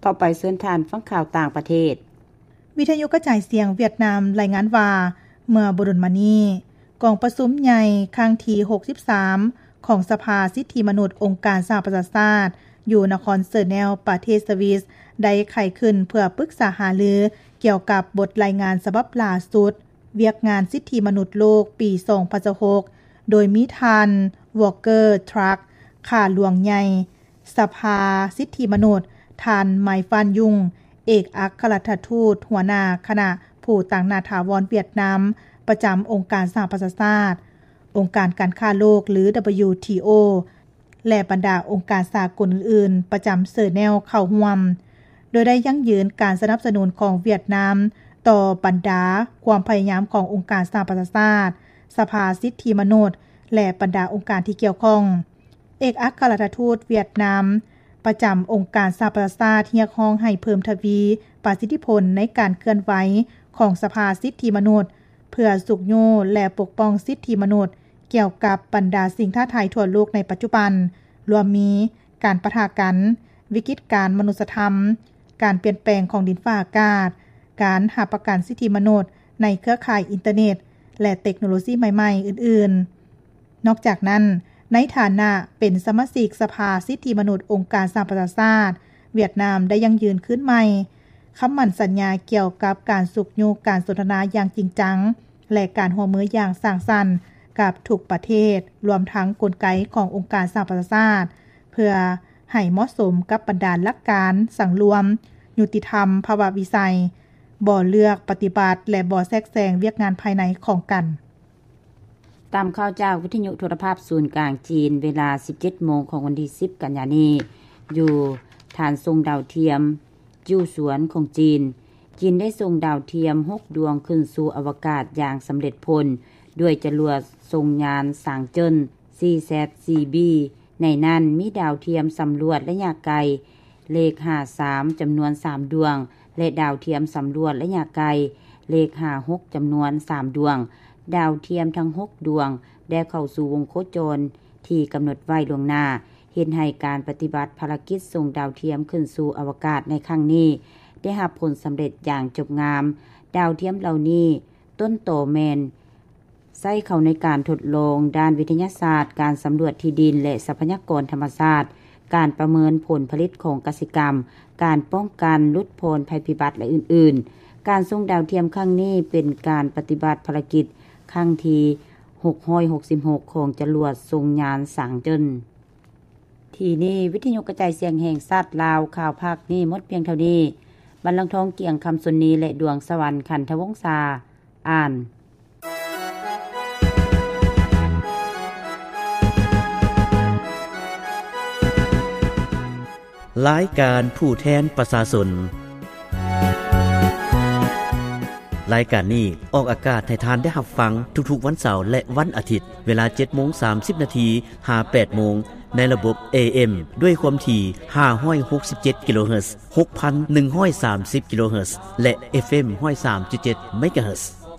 ຕໍ່ໄປເຊີນທ່ານຟັງຂ່າວຕ່າງປະເທດ. ວິທະຍຸກະຈາຍສຽງຫວຽດນາມລາຍງານວ່າ ເມື່ອບໍ່ດົນມານີ້ ກອງປະຊຸມໃຫຍ່ຄັ້ງທີຫົກສິບສາມ ຂອງສະພາສິດທິມະນຸດອົງການສະຫະປະຊາຊາດ ຢູ່ນະຄອນເຊີແນວ ປະເທດສະວິສ ໄດ້ໄຂຂຶ້ນເພື່ອປຶກສາຫາລືກ່ຽວກັບບົດລາຍງານສະບັບລ່າສຸດ ວຽກງານສິດທິມະນຸດໂລກປີສອງພັນຊາວຫົກ ໂດຍມີທ່ານ ວໍກເກີ ທຣັກ ຂ້າຫຼວງໃຫຍ່ ສະພາສິດທິມະນຸດ, ທ່ານ ໄມຟານ ຍຸງ ເອກອັກຄະລັດຖະທູດຫົວໜ້າຄະນະຜູ້ຕາງໜ້າຖາວອນຫວຽດນາມ ປະຈຳອົງການສະຫະປະຊາຊາດ, ອົງການການຄ້າໂລກ ຫຼື WTO ແລະ ບັນດາອົງການສາກົນອື່ນໆ ປະຈຳເຊີແນວເຂົ້າຮ່ວມ, ໂດຍໄດ້ຢັ້ງຢືນການສະໜັບສະໜູນຂອງຫວຽດນາມຕໍ່ບັນດາຄວາມພະຍາຍາມຂອງອົງການສະຫະປະຊາຊາດ, ສະພາສິດທິມະນຸດ ແລະ ບັນດາອົງການທີ່ກ່ຽວຂ້ອງ. ເອກອັກຄະລັດຖະທູດຫວຽດນາມປະຈຳອົງການສະຫະປະຊາຊາດ ຮຽກຮ້ອງໃຫ້ເພີ່ມທະວີປະສິດທິຜົນໃນການເຄື່ອນໄຫວຂອງສະພາສິດທິມະນຸດ ເພື່ອຊຸກຍູ້ ແລະ ປົກປ້ອງສິດທິມະນຸດ ກ່ຽວກັບບັນດາສິ່ງທ້າທາຍທົ່ວໂລກໃນປັດຈຸບັນ, ລວມມີການປະທະກັນ, ວິກິດການມະນຸດສະທຳ, ການປ່ຽນແປງຂອງດິນຟ້າອາກາດ, ການຮັບປະກັນສິດທິມະນຸດໃນເຄືອຂ່າຍອິນເຕີເນັດ ແລະ ເຕັກໂນໂລຊີໃໝ່ໆ ອື່ນໆ. ນອກຈາກນັ້ນ, ໃນຖານະເປັນສະມາຊິກສະພາສິດທິມະນຸດອົງການສະຫະປະຊາຊາດ, ຫວຽດນາມໄດ້ຢັ້ງຢືນຄືນໃໝ່ຄຳໝັ້ນສັນຍາກ່ຽວກັບການຊຸກຍູ້ການສົນທະນາຢ່າງຈິງຈັງ ແລະ ການຮ່ວມມືຢ່າງສ້າງສັນກັບທຸກປະເທດ, ລວມທັງກົນໄກຂອງອົງການສະຫະປະຊາຊາດ ເພື່ອໃຫ້ເໝາະສົມກັບບັນດາຫຼັກການສັງລວມ, ຍຸຕິທຳ, ພາວະວິໄສ, ບໍ່ເລືອກປະຕິບັດ ແລະ ບໍ່ແຊກແຊງວຽກງານພາຍໃນຂອງກັນ. ຕາມຂ່າວຈາກວິທະຍຸໂທລະພາບສູນກາງຈີນ ເວລາສິບເຈັດໂມງຂອງວັນທີສິບ ກັນຍານີ້, ຢູ່ຖານສົ່ງດາວທຽມຈິ້ວສວນຂອງຈີນ, ຈີນໄດ້ສົ່ງດາວທຽມຫົກດວງຂຶ້ນສູ່ອະວະກາດຢ່າງສຳເລັດຜົນ ດ້ວຍຈະລວດສົ່ງຍານສາງເຈິນ ຊີແຊັດ ຊີບີ ໃນນັ້ນມີດາວທຽມສຳຫຼວດໄລຍະໄກເລກຫ້າສາມ ຈຳນວນສາມດວງ ແລະ ດາວທຽມສຳຫຼວດໄລຍະໄກເລກຫ້າຫົກ ຈຳນວນສາມດວງ. ດາວທຽມທັງຫົກດວງໄດ້ເຂົ້າສູ່ວົງໂຄຈອນທີ່ກຳນົດໄວ້ລ່ວງໜ້າ, ເຮັດໃຫ້ການປະຕິບັດພາລະກິດສົ່ງດາວທຽມຂຶ້ນສູ່ອະວະກາດໃນຄັ້ງນີ້ ໄດ້ຮັບຜົນສຳເລັດຢ່າງຈົບງາມ. ດາວທຽມເຫຼົ່ານີ້ ຕົ້ນຕໍແມ່ນ ໃຊ້ເຂົ້າໃນການທົດລອງດ້ານວິທະຍາສາດ, ການສຳຫຼວດທີ່ດິນ ແລະ ຊັບພະຍາກອນທຳມະຊາດ, ການປະເມີນຜົນຜະລິດຂອງກະສິກຳ, ການປ້ອງກັນ, ຫຼຸດຜ່ອນໄພພິບັດ ແລະ ອື່ນໆ. ການສົ່ງດາວທຽມຄັ້ງນີ້ເປັນການປະຕິບັດພາລະກິດຄັ້ງທີຫົກຮ້ອຍຫົກສິບຫົກ ຂອງຈະລວດສົ່ງຍານສາງເຈິນ. ທີ່ນີ້ ວິທະຍຸກະຈາຍສຽງແຫ່ງຊາດລາວ, ຂ່າວພາກນີ້ໝົດພຽງເທົ່ານີ້. ບັນລັງທອງ ກຽງຄຳຊົນນີ ແລະ ດວງສະຫວັນ ຂັນທະວົງສາ ອ່ານ. ລາຍການຜູ້ແທນປະຊາຊົນ. ລາຍການນີ້ອອກອາກາດໃຫ້ທ່ານໄດ້ຮັບຟັງທຸກໆວັນເສົາ ແລະ ວັນອາທິດ, ເວລາເຈັດໂມງສາມສິບນາທີ ຫາແປດໂມງ ໃນລະບົບ ເອເອັມ ດ້ວຍຄວາມຖີ່ຫ້າຮ້ອຍຫົກສິບເຈັດກິໂລເຮີດ, ຫົກພັນໜຶ່ງຮ້ອຍສາມສິບກິໂລເຮີດ ແລະ ເອັຟເອັມ ຮ້ອຍສາມຈຸດເຈັດເມກາເຮີດ.